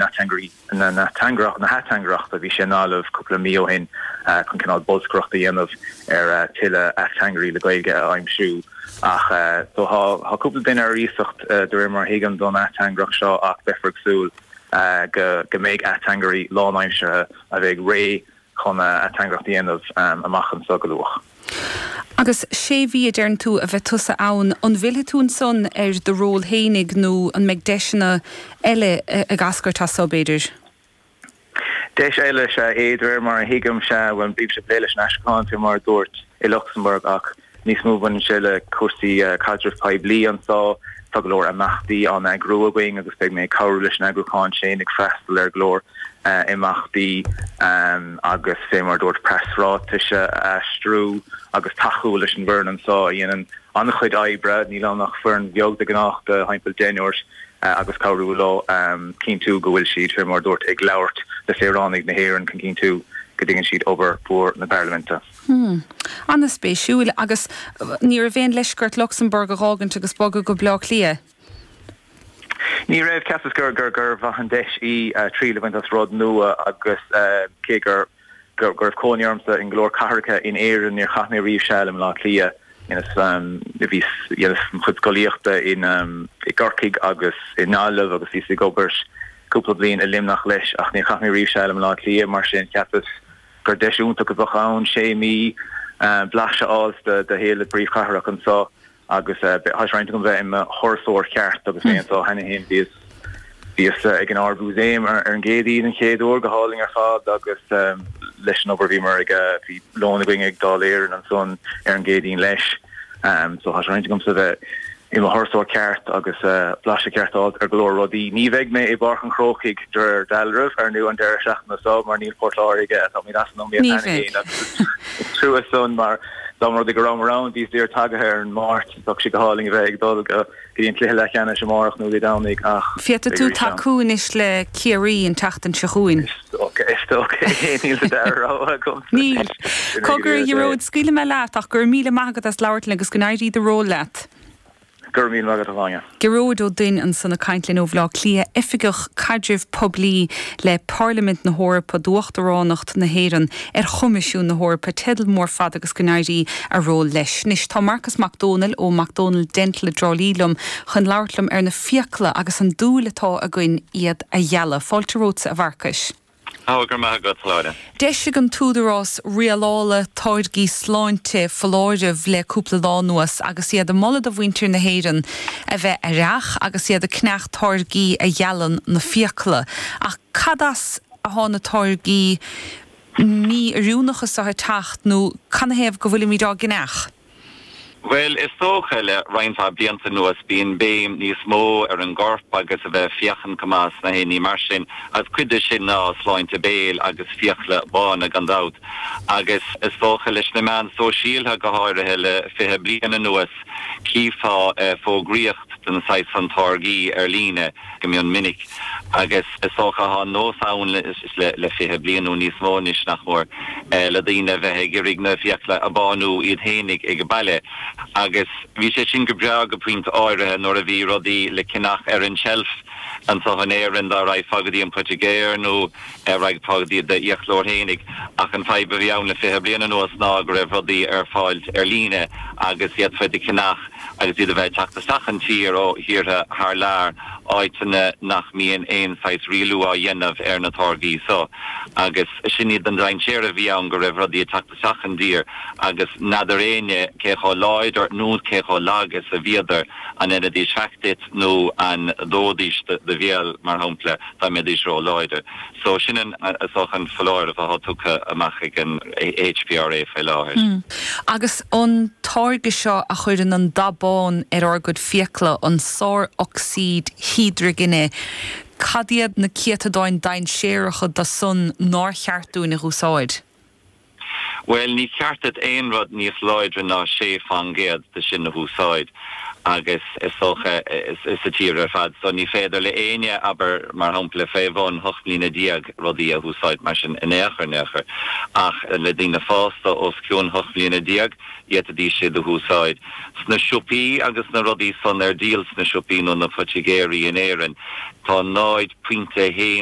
Na hateangaireachta. Bhí sé i nGaillimh cúpla mí ó shin chun cineál bolscaireacht a dhéanamh ar tuilleadh ateangairí le Gaeilge a aimsiú. Ach so tá cúpla duine ar iasacht de réir mar a thuigim don ateangaireacht seo ach beifear ag súil go mbeidh ateangairí lánaimseartha a bheidh réidh chun ateangaireacht a dhéanamh amach anseo go luath. Agus sé mhí a deireann tú a bheidh tusa ann, an bhfillfidh tú ansan ar do ról fhéinig nó an mbeidh deiseanna eile ag eascairt as so, b'fhéidir? Deis eile is ea é, de réir mar a thuigim, sea, bhuel, bímse ag plé leis an aistriúchán, fé mar a dúirt, i Lucsamburg ach níos mó baineann sé le cúrsaí caidrimh poiblí anseo. Tá go leor imeachtaí á n-eagrú againn agus beidh mé ag cabhrú leis an eagrúchán sin, ag freastal ar go leor imeachtaí agus fé mar a dúirt preasráitis a aistriú agus tacú leis an bhfoireann anseo a dhéanann an-chuid oibre, níl ann ach foireann bheag de ghnáth de thimpeall deichniúr, agus cabhrú leo cinntiú go bhfuil siad, fé mar a dúirt, ag labhairt le saoránaigh na hÉireann chun cinntiú go dtuigeann siad obair mhór na Parlaiminte. Hmm. An-spéisiúil. Agus ní raibh aon leisce ort Lucsamburg a dh'fhágaint agus bogadh go Bleá Cliath? Ní raibh. Cheapas gur gur mhaith an deis í triail a bhaint as rud nua agus cé gur go raibh cónaí ormsa in go leor cathracha in Éirinn, níor chaith mé riamh seal i mBleá Cliath. Bhíos, dheineas mo chuid scolaíochta in i gCorcaigh agus i nGaillimh agus bhíos ag obair cúpla bliain i Luimneach leis ach níor chaith mé riamh seal i mBleá Cliath mar sin cheapas gur deis iontach a bheadh ann sé mhí blaiseadh a fháil de shaol na príomhchathrach anseo. Agus tá sé roinnte agam bheith i mo thurasóir ceart agus mé anseo cheana féin. Bhíos bhíos ag an Ard-Mhúsaem ar an gCéadaoin an chéad uair, go hálainn ar fad agus leis an obair bhíomar ag bhí lón againn ag Dáil Éireann ansan ar an gCéadaoin leis. So tá sé roinnte agamsa bheith i mo thurasóir ceart agus blaiseadh ceart a fháilt ar go leor rudaí. Ní bheidh mé i bPáirc an Chrócaigh de réir dealraimh, ar ndú, an deireadh seachtaine seo mar níl Port Láirge, táimid as an iomaíocht Ní cheana bheidh. féin agus is trua san mar dá mba rud é go rabhamar ann bhí daor tagaithe ar an Máirt, bheadh sé go hálainn a bheith ag dul go dtí an cluiche leathcheannais amárach nó Dé Domhnaigh ach Féadfaidh beidh tú arís ann. tacú anois le Ciarraí an tseachtain seo chugainn. Is dócha, is dócha é, níl sa dara rogha agamsa Níl. anois. Sin é go Cogar, a díreach é. Ghearóid, scaoilfidh mé leat ach go raibh míle maith agat as labhairt linn agus go n-éirí do ról leat. Go raibh míle maith agat, a Shláine. Gearóid Ó Duinn ansan ag caint linn ó Bhleá Cliath, Oifigeach Caidrimh Poiblí le Pairlimint na hEorpa d'Uachtaránacht na hÉireann ar Choimisiún na hEorpa, teideal mór fada agus go n-éirí a ról leis. Anois tá Marcus Mac Dónaill ó Mac Dónaill Dental i dTrá Lí liom chun labhairt liom ar na fiacla agus an dúil atá againn iad a ghealadh. Fáilte romhatsa a Mharcais. Ó, go raibh maith agat, a Shláine. D'eisigh an tÚdarás Rialála Táirgí Sláinte foláireamh le cúpla lá anuas agus iad ag moladh do mhuintir na hÉireann a bheith aireach agus iad ag ceannach táirgí a ghealann na fiacla. Ach cad as atá na táirgí mí-oiriúnacha seo ag teacht nó canathaobh go bhfuilimid á gceannach? Bhuel, is dócha, le roinnt mhaith blianta anuas, bíonn béim níos mó ar an gcorp agus a bheith ag féachaint go maith is na haon ní mar sin, agus cuid de sin ná sláinte béil agus fiacla bána, gan dabht. Agus is dócha, leis na meáin sóisialtha go háirithe le 20 bliain anuas, cífeá fógraíocht den saghas san táirgí ar líne go mion minic. Agus is dócha tá an nós ann le 20 bliain nó níos mó anois, nach mór, le daoine a bheith ag iarraidh na fiacla a bánú iad fhéinig ag baile. Agus bhí sé sin go breá go pointe áirithe nuair a bhí rudaí le ceannach ar an tseilf anso in Éirinn dá raghfá go dtí an poitigéir nó raghfá go dtí d'fhiaclóir fhéinig. Ach an fadhb a bhí ann le 20 bliain anuas ná go raibh rudaí ar fáilt ar líne agus d'fhéadfá iad a cheannach agus iad a bheith ag teacht isteach an tír ó thíortha thar lear, áiteanna nach mbíonn aon saghas rialú á dhéanamh ar na táirgí so. Agus sin iad an dainséar a bhí ann, go raibh rudaí ag teacht isteach an dtír agus n'fheadar éinne cé chomh láidir nó cé chomh lag is a bhíodar, an ndéanfaidís faic duit nó an dóidís do bhéal, mar shampla, dá mbeidís ró-láidir. So sin an, is dócha, an foláireamh atá tugtha amach ag an HPRA faoi láthair. Agus an táirge seo a chuireann an dath bán ar ár gcuid fiacla, an sár-ocsaíd hidrigine, cad iad na céatadáin dainséaracha de san nár cheart dúinn a dh'úsáid? Bhuel, ní ceart duit aon rud níos láidre ná 6 fán gcéad de sin a húsáid. Agus is dócha sa tír ar fad. So ní féidir le éinne, abair, mar shampla, fé bhun 18 mbliana rudaí a húsáid mar sin in aon chor, in aon chor. Ach le daoine fásta os cionn 18 mbliana, d'fhéadfaidís iad a húsáid. Sna siopaí agus na rudaí san ar díol sna siopaí nó na poitigéirí in Éirinn, tá 0.1%.